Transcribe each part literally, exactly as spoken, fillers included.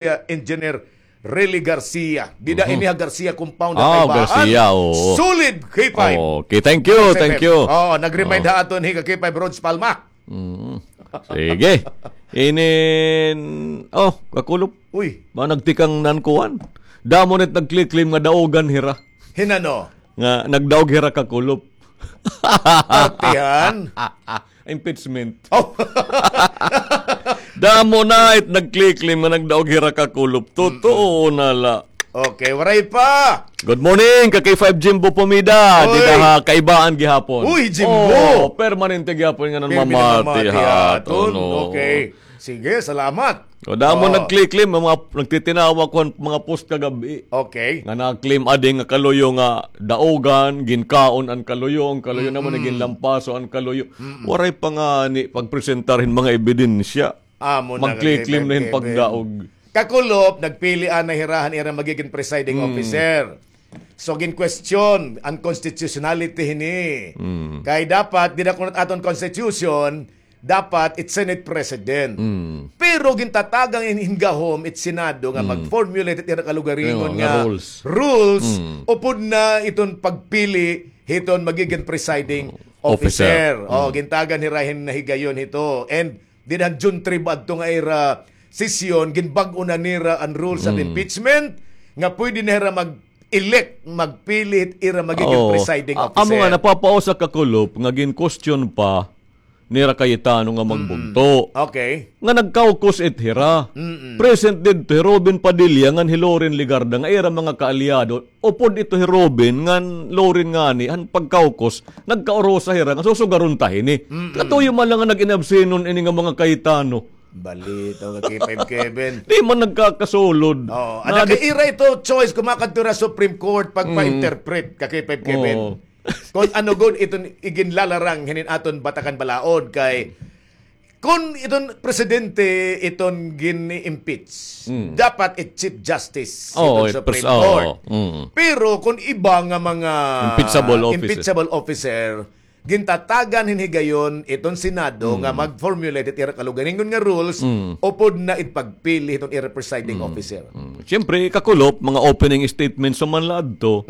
Engineer Rely Garcia. Dida ini ha Garcia Compound ha Kaibaan. Garcia, oo. Solid, K five. Okay, thank you, thank you. Oo, nag-remind ha aton hi ka K five Rhodes Palma. Mm. Sige. Inin, oh, kakulop. Uy. Ba nagtikang nan kuan? Damo nit nagkliklim nga daogan hira. Hinano? Nga nagdaog hira kakulop. Partihan? Impeachment. Oh. Damo na it nagkliklim nga nagdaog hira kakulop. Totoo na la. Okay, waray pa. Good morning, ka K five Jimbo Pomida. Uy. Dida ha Kaibaan gihapon. Uy, Jimbo. Oh, permanente gihapon nga nan mamati ha aton. Okay. Sige, salamat. O, damo nagkliklim, mga nagtitinawa ko an mga post kagab-i. Okay. Nga nagklim adi nga kaluyo nga daogan, ginkaon an kaluyo, an kaluyo naman, ginlampaso an kaluyo. Waray pa ngani pagpresentar hin mga ebidensya. Amo na, magkliklim na hin pagdaog. Kakulop, nagpili anay hira han ira magigin presiding officer. So, gin-question an constitutionality hini. Kay dapat, dida kunat aton constitution, dapat it Senate President. Pero gintatagan hin, hin gahom it Senado nga mag-formulate it ira kalugaringon nga rules. Upod na iton pagpili hiton magigin presiding officer. O, gintagan hira hin nahigayon hito. And dida han June three ba adto nga ira sesyon, ginbag-o na nira an rules of impeachment, nga pwede na hira mag-elect, magpili hit ira magigin presiding officer. Amo nga napapausa kakulop nga gin-question pa nira Cayetano nga magbugto. Okay. Nga nag-caucus it hira. Present didto hi Robin Padilla ngan hi Loren Legarda nga ira mga kaalyado. Upod ito hi Robin ngan Loren ngani, han pag-caucus, nagkaurusa hira nga susugaron ta hini. Katuyo man la nga nag-inabsenon ini nga mga Cayetano. Balitaw nga K five Kevin. Di man nagkakasulod. Oo, anak, kay ira ito choice kon makadto hira Supreme Court pagpa-interpret ka K five Kevin. Oo. Kon ano gud iton iginlalarang hinin aton Batakan Balaod kay kon iton presidente iton gin-impeach, dapat it Chief Justice iton Supreme Court. Pero kon iba nga mga impeachable officer, gintatagan hin higayon iton Senado nga mag-formulate it ira kalugaringon nga rules upod na it pagpili hiton ira presiding officer. Siyempre, kakulop, mga opening statements man la adto.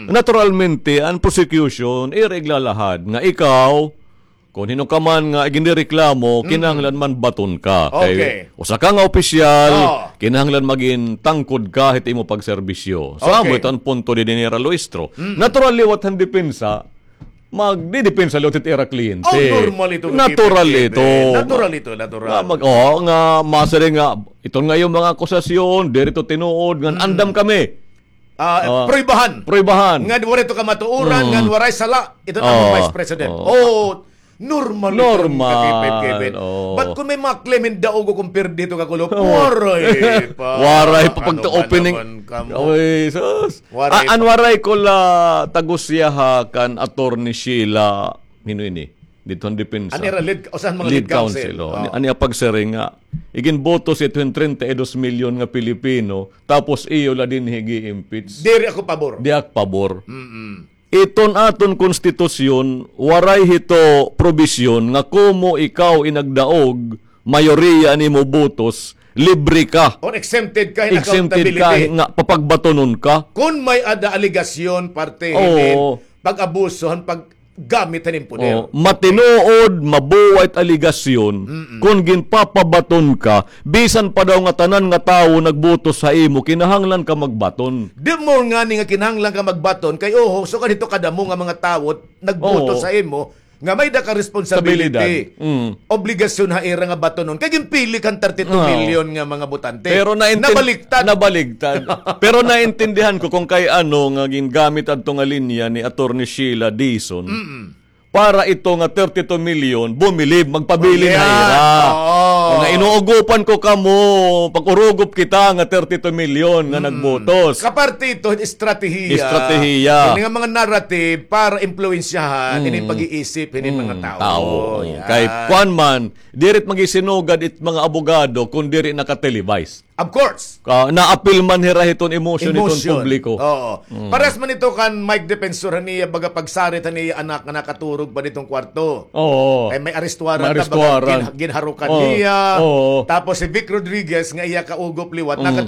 Naturalmente, an prosecution, ira iglalahad nga ikaw, kon hin-o ka man nga iginrereklamo, kinahanglan man baton ka. Kay usa ka nga opisyal, kinahanglan magin tangkod ka hit imo pagserbisyo. So, amo ito an punto didi nira Luistro. Natural liwat han depensa, magdidepensa liwat hit ira kliyente. Oh, normal ito. Natural ito. Natural ito, natural. Nga mag-, oo, nga masiring nga, iton nga iyo mga akusasyon, diri ito tinuod, ngan andam kami. Ah, pruwebahan. Pruwebahan. Ngan waray ito kamatuoran, ngan waray sala. Ito na ang Vice President. Oh, normal ito, normal. Ka K five Kevin. But kung may mga claim in daog o kung pirdi ito kakulop, waray pa. Waray pa pagka-opening. Ay, sus. Waray pa. An waray ko la tagusyaha kan Attorney Sheila, hino ini? Didto han depensa. An ira lead, usa han mga lead counsel. An iya pagsiring nga iginbotos ito hin treinta y dos milyon nga Pilipino, tapos iyo la dinhi gi-impeach. Diri ako pabor. Di ak pabor. Iton aton konstitusyon, waray hito probisyon nga komo ikaw in nagdaog, mayoriya an imo botos, libre ka. Or exempted ka hin accountability. Exempted ka nga papagbatonon ka. Kon may-ada alegasyon parte hinin pag-abuso han pag- gamit han im poder. Oh, matinuod, mabuway it alegasyon, kon ginpapabaton ka, bisan pa daw nga tanan nga tawo nagbotos ha imo, kinahanglan ka magbaton. The more ngani nga kinahanglan ka magbaton, kay oho, sugad hito kadamo nga mga tawo nagbotos ha imo, nga may-ada ka responsibility, obligasyon ha ira nga batonon. Kay ginpili ka han thirty-two million nga mga botante. Pero naintin-, nabaligtad. Nabaligtad. Pero naintindihan ko kung kay ano nga gingamit adto nga linya ni Attorney Sheila Dizon. Para ito nga thirty-two million, bumilib, magpabilin ha ira. Oo. Nga inuugopan ko kamo, pag-urugop kita nga thirty-two million nga nagbotos. Kaparte ito, estratehiya. Estratehiya. Ini nga mga narrative para impluwensyahan, ini pag-iisip, ini mga tawo. Tawo. Yan. Kay kuan man, diri it magisinugad it mga abogado kung diri naka-televise. Of course. Ka, naapil man hira hiton emosyon hiton publiko. Oo. Mm. Pares man ito kan Mike Defensor han iya baga pagsarit han iya anak nga nakaturog pa diton kwarto. Oo. Kay may arestuaran na baga gin-, ginharukan niya. Oo. Tapos si Vic Rodriguez nga iya kaugop liwat, mm,